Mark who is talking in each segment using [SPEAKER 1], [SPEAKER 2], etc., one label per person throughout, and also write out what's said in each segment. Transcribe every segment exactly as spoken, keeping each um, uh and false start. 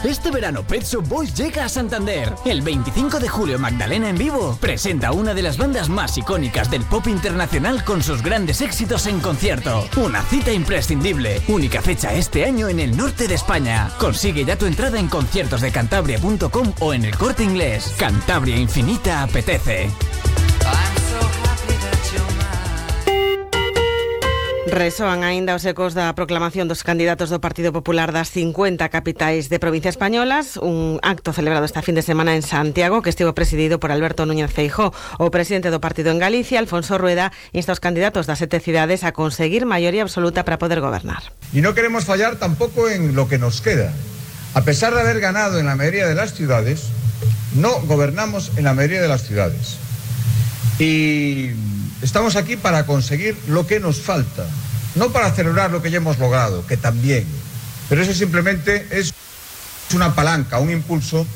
[SPEAKER 1] Este verano Pet Shop Boys llega a Santander. El veinticinco de julio Magdalena en vivo presenta una de las bandas más icónicas del pop internacional con sus grandes éxitos en concierto. Una cita imprescindible. Única fecha este año en el norte de España. Consigue ya tu entrada en conciertos de cantabria punto com o en El Corte Inglés. Cantabria Infinita apetece.
[SPEAKER 2] Resoan aínda os ecos da proclamación dos candidatos do Partido Popular das cincuenta capitais de provincia españolas, un acto celebrado esta fin de semana en Santiago que estivo presidido por Alberto Núñez Feijóo. O presidente do partido en Galicia, Alfonso Rueda, insta aos candidatos das sete cidades a conseguir maioría absoluta para poder gobernar.
[SPEAKER 3] Y no queremos fallar tampoco en lo que nos queda. A pesar de haber ganado en la mayoría de las ciudades, no gobernamos en la mayoría de las ciudades. Y estamos aquí para conseguir lo que nos falta, no para celebrar lo que ya hemos logrado, que también, pero eso simplemente es una palanca, un impulso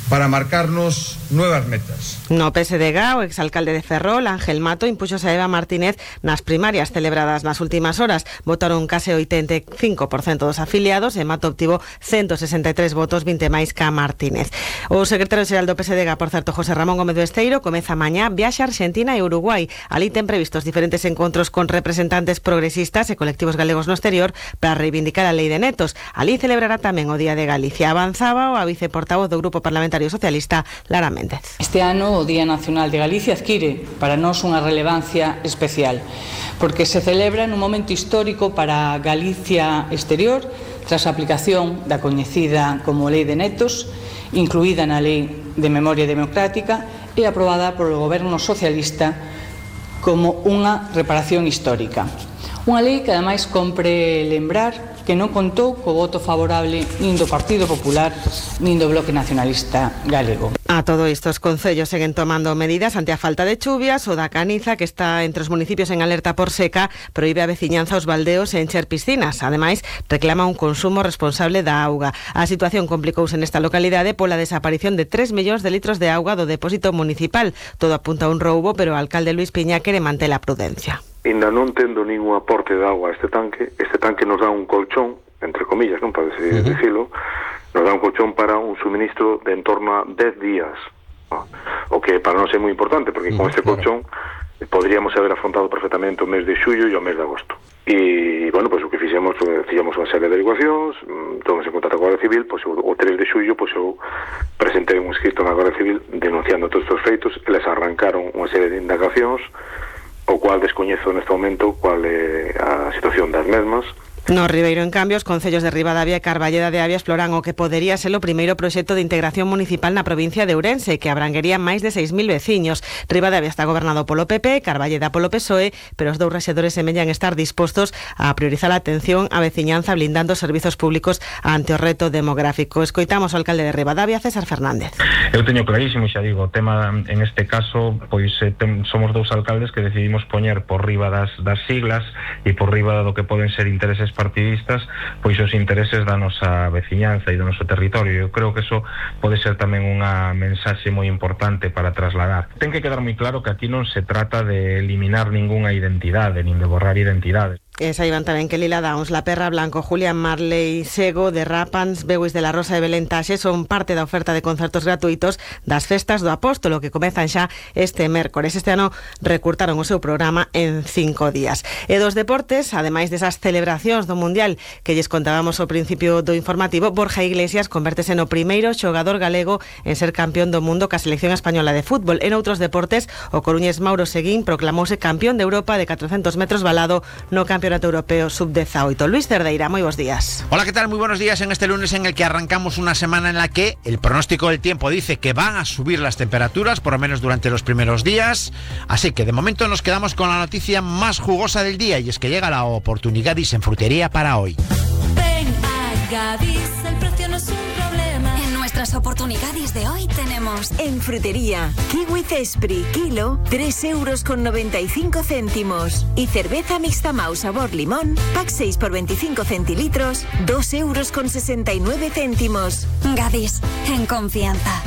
[SPEAKER 3] para marcarnos nuevas metas.
[SPEAKER 2] No P S D G, o exalcalde de Ferrol, Ángel Mato, impuxose a Eva Martínez nas primarias celebradas nas últimas horas. Votaron case oitenta e cinco por cento dos afiliados e Mato obtivo ciento sesenta e tres votos, vinte máis que a Martínez. O secretario xeral do P S D G, por certo, José Ramón Gómez do Esteiro, comeza mañá viaxe a Argentina e Uruguai. Ali ten previstos diferentes encontros con representantes progresistas e colectivos galegos no exterior para reivindicar a lei de netos. Ali celebrará tamén o Día de Galicia. Avanzaba o a viceportavoz do Grupo Parlamentario Socialista, Lara Méndez.
[SPEAKER 4] Este ano o Día Nacional de Galicia adquire para nós unha relevancia especial, porque se celebra nun momento histórico para Galicia exterior, tras a aplicación da coñecida como Lei de Netos, incluída na Lei de Memoria Democrática e aprobada polo Goberno Socialista como unha reparación histórica. Unha lei que ademais compre lembrar que non contou co voto favorable nin do Partido Popular nin do Bloque Nacionalista Galego.
[SPEAKER 2] A todo isto, os concellos seguen tomando medidas ante a falta de chuvias. O da Caniza, que está entre os municipios en alerta por seca, proíbe a veciñanza aos baldeos e encher piscinas. Ademais, reclama un consumo responsable da auga. A situación complicouse nesta localidade pola desaparición de tres millóns de litros de auga do depósito municipal. Todo apunta a un roubo, pero o alcalde Luís Piña quere manter a prudencia.
[SPEAKER 5] Ainda non tendo ningún aporte de agua a este tanque, este tanque nos dá un colchón, entre comillas, non pode uh-huh. decirlo, nos dá un colchón para un suministro de en torno a dez días, ¿no? O que para nós é moi importante, porque uh-huh, con este colchón claro. podríamos haber afrontado perfectamente o mes de xullo e o mes de agosto. E, bueno, pois pues, o que fixemos, fixemos unha serie de averiguacións, tomamos en contacto con a Guardia Civil, pois pues, o tres de xullo, pois pues, eu presentei un escrito na Guardia Civil denunciando todos estes feitos, eles arrancaron unha serie de indagacións, o cual descoñezo neste momento cual é a situación das mesmas.
[SPEAKER 2] No Ribeiro, en cambio, os concellos de Ribadavia e Carballeda de Avia exploran o que podería ser o primeiro proxecto de integración municipal na provincia de Ourense, que abranguería máis de seis mil veciños. Ribadavia está gobernado polo P P, Carballeda polo P S O E, pero os dous rexedores semellan estar dispostos a priorizar a atención á veciñanza blindando os servizos públicos ante o reto demográfico. Escoitamos ao alcalde de Ribadavia, César Fernández.
[SPEAKER 6] Eu teño clarísimo, xa digo, o tema en este caso, pois eh, tem, somos dous alcaldes que decidimos poñer por riba das, das siglas e por riba do que poden ser intereses partidistas, pois os intereses da nosa veciñanza e do noso territorio. Eu creo que eso pode ser tamén unha mensaxe moi importante para trasladar. Ten que quedar moi claro que aquí non se trata de eliminar ningunha identidade, nin de borrar identidades.
[SPEAKER 2] E saiban tamén que Lila Downs, La Perra Blanco, Julián Marley, Sego, de Rapans, Beuis de la Rosa e Belén Taxe son parte da oferta de concertos gratuitos das festas do Apóstolo que comezan xa este mércores. Este ano recurtaron o seu programa en cinco días. E dos deportes, ademais desas celebracións do Mundial que lles contábamos ao principio do informativo, Borja Iglesias convértese no primeiro xogador galego en ser campeón do mundo ca selección española de fútbol. En outros deportes, o coruñés Mauro Seguín proclamouse campeón de Europa de catrocentos metros valado no Campeonato Europeo sub dieciocho. Luis Cerdeira, muy buenos días.
[SPEAKER 7] Hola, ¿qué tal? Muy buenos días en este lunes en el que arrancamos una semana en la que el pronóstico del tiempo dice que van a subir las temperaturas, por lo menos durante los primeros días. Así que de momento nos quedamos con la noticia más jugosa del día y es que llega la oportunidad en frutería para hoy.
[SPEAKER 8] Ven a Gadis, el precio no es un problema. En nuestras oportunidades de hoy tenemos
[SPEAKER 9] en frutería kiwi Cespri kilo tres euros con noventa y cinco céntimos y cerveza mixta Mau sabor limón pack seis por veinticinco centilitros dos euros con sesenta y nueve céntimos.
[SPEAKER 8] Gadis, en confianza.